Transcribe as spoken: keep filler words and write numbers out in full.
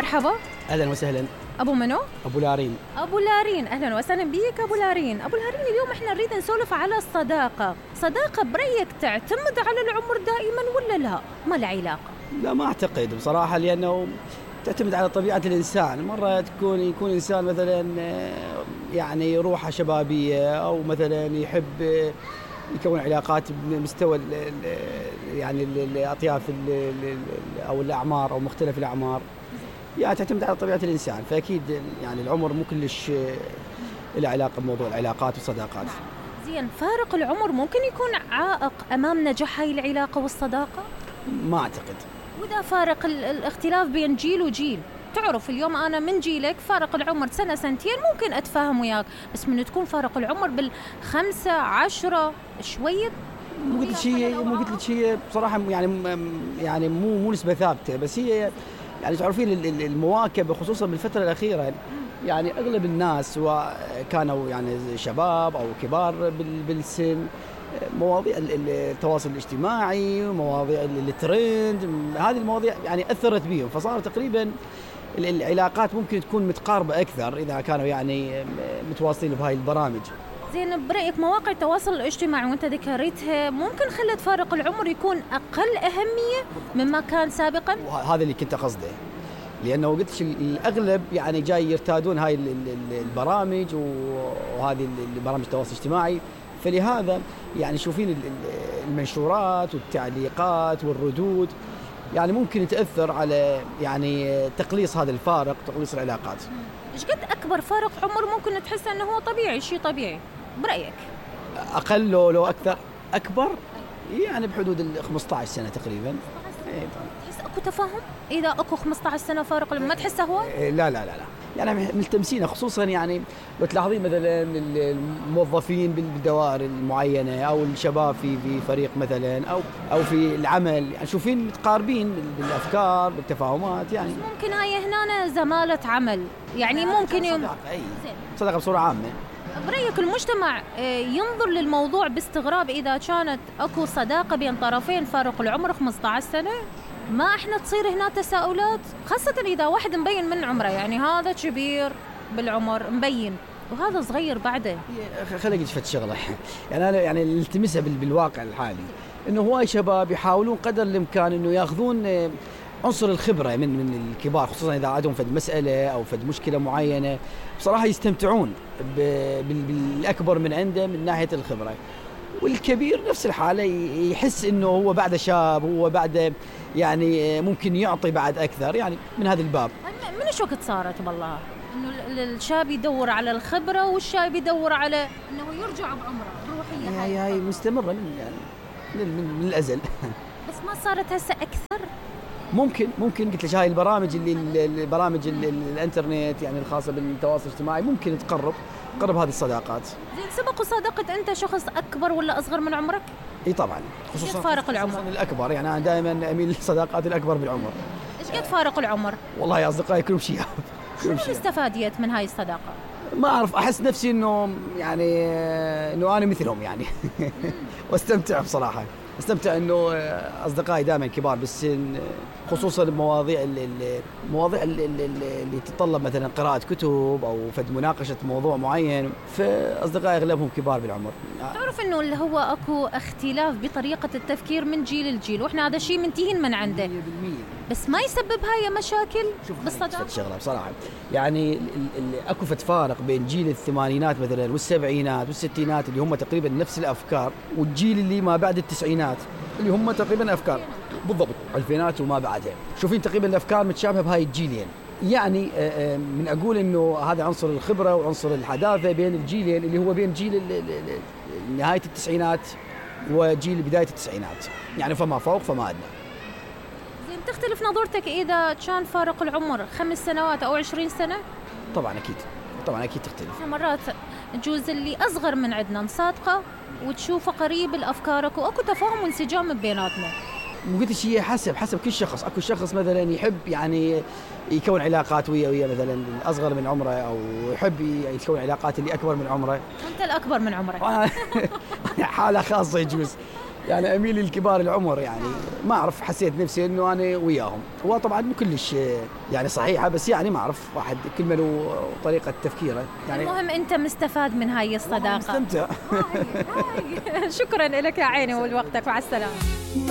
مرحبا. اهلا وسهلا. ابو منو؟ ابو لارين. ابو لارين، اهلا وسهلا بيك ابو لارين. ابو لارين، اليوم احنا نريد نسولف على الصداقه. صداقه برايك تعتمد على العمر دائما ولا لا؟ ما العلاقه؟ لا ما اعتقد بصراحه، لانه تعتمد على طبيعه الانسان. مره تكون يكون انسان مثلا يعني روحه شبابيه، او مثلا يحب يكون علاقات بمستوى يعني الاطياف او الاعمار او مختلف الاعمار، يعني تعتمد على طبيعه الانسان. فاكيد يعني العمر مو كلش له علاقه بموضوع العلاقات والصداقات. زين، فارق العمر ممكن يكون عائق امام نجاح هاي العلاقه والصداقه؟ ما اعتقد. واذا فارق الاختلاف بين جيل وجيل، تعرف اليوم انا من جيلك فارق العمر سنه سنتين ممكن اتفاهم وياك، بس من تكون فارق العمر بالخمسه عشرة شويه مو قلت شيء مو قلت شيء بصراحه، يعني يعني مو مو نسبه ثابته، بس هي يعني تعرفين المواكبه خصوصا بالفتره الاخيره. يعني اغلب الناس سواء كانوا يعني شباب او كبار بالسن، مواضيع التواصل الاجتماعي ومواضيع الترند، هذه المواضيع يعني اثرت بيهم، فصاروا تقريبا العلاقات ممكن تكون متقاربه اكثر اذا كانوا يعني متواصلين بهاي البرامج. زين، برأيك مواقع التواصل الاجتماعي وانت ذكرتها ممكن خلت فارق العمر يكون اقل اهميه مما كان سابقا؟ هذا اللي كنت قصده، لانه قلت الاغلب يعني جاي يرتادون هاي البرامج وهذه البرامج التواصل الاجتماعي، فلهذا يعني شوفين المنشورات والتعليقات والردود يعني ممكن تأثر على يعني تقليص هذا الفارق، تقليص العلاقات. ايش قد اكبر فارق عمر ممكن تحس انه هو طبيعي، شيء طبيعي برأيك؟ اقل لو لو اكثر؟ اكبر يعني بحدود ال خمسة عشر سنه تقريبا. تحس اكو تفاهم اذا اكو خمسة عشر سنه فارق، ما تحسه هو؟ لا لا لا لا يعني ملتمسين، خصوصا يعني لو تلاحظين مثلا الموظفين بالدوائر المعينه او الشباب في في فريق مثلا او او في العمل، يعني شوفين متقاربين بالافكار بالتفاهمات. يعني ممكن هاي هنا زماله عمل، يعني ممكن يوم صداقه اي صداقه بصوره عامه. برأيك المجتمع ينظر للموضوع باستغراب اذا كانت اكو صداقه بين طرفين فارق العمر خمسة عشر سنه؟ ما احنا تصير هنا تساؤلات، خاصة اذا واحد مبين من عمره، يعني هذا كبير بالعمر مبين وهذا صغير بعده. خليني اجي شغله يعني انا يعني التمسها بالواقع الحالي، انه هواي شباب يحاولون قدر الامكان انه ياخذون عنصر الخبره من من الكبار، خصوصا اذا عندهم فد مساله او فد مشكله معينه، بصراحه يستمتعون بالاكبر من عنده من ناحيه الخبره. والكبير نفس الحالة يحس إنه هو بعد شاب، هو بعد يعني ممكن يعطي بعد أكثر، يعني من هذا الباب. من شو وقت صارت بالله إنه الشاب يدور على الخبرة والشاب يدور على إنه يرجع بعمره روحية؟ هاي هاي مستمرة من يعني من, من الأزل. بس ما صارت هسه أكثر؟ ممكن ممكن قلت لك هاي البرامج اللي البرامج الانترنت يعني الخاصة بالتواصل الاجتماعي ممكن تقرب قرب هذه الصداقات. زين، سبق وصادقت انت شخص اكبر ولا اصغر من عمرك؟ اي طبعا، خصوصا فارق العمر. خصوصا الاكبر، يعني انا دائما اميل للصداقات الاكبر بالعمر. ايش قد فارق العمر؟ والله يا اصدقائي كلهم شياب. شو استفاديت من هاي الصداقه؟ ما اعرف، احس نفسي انه يعني انه انا مثلهم يعني واستمتع بصراحه، استمتع انه اصدقائي دائما كبار بالسن، خصوصا بمواضيع المواضيع اللي تتطلب مثلا قراءه كتب او فد مناقشه موضوع معين، فاصدقائي اغلبهم كبار بالعمر. تعرف انه اللي هو اكو اختلاف بطريقه التفكير من جيل لجيل، واحنا هذا الشيء منتهين من عنده مية بالمية، بس ما يسبب هاي مشاكل بالصداقه. شغله بصراحه يعني اكو فد فارق بين جيل الثمانينات مثلا والسبعينات والستينات اللي هم تقريبا نفس الافكار، والجيل اللي ما بعد التسعينات اللي هم تقريبا افكار بالضبط الفينات وما بعدها، شوفين تقريبا الافكار متشابهه بهاي الجيلين. يعني من اقول انه هذا عنصر الخبره وعنصر الحداثه بين الجيلين اللي هو بين جيل نهايه التسعينات وجيل بدايه التسعينات، يعني فما فوق فما ادنى. زين، تختلف نظرتك اذا كان فارق العمر خمس سنوات او عشرين سنه؟ طبعا اكيد طبعا اكيد تختلف. مرات تجوز اللي اصغر من عندنا نصادقه وتشوفه قريب الافكارك واكو تفاهم وانسجام بيناتنا. مو قلت شيء، حسب حسب كل شخص. اكو شخص مثلا يحب يعني يكون علاقات ويا ويا مثلا الاصغر من عمره، او يحب يكون علاقات اللي اكبر من عمره. انت الاكبر من عمرك. حاله خاصه يجوز. يعني اميل للكبار العمر، يعني ما اعرف، حسيت نفسي انه انا وياهم. هو طبعا مو كلش يعني صحيحه، بس يعني ما اعرف، واحد كل ما له طريقه تفكيره يعني. المهم انت مستفاد من هاي الصداقه. مستمتع. شكرا لك يا عيني ولوقتك، مع السلامه.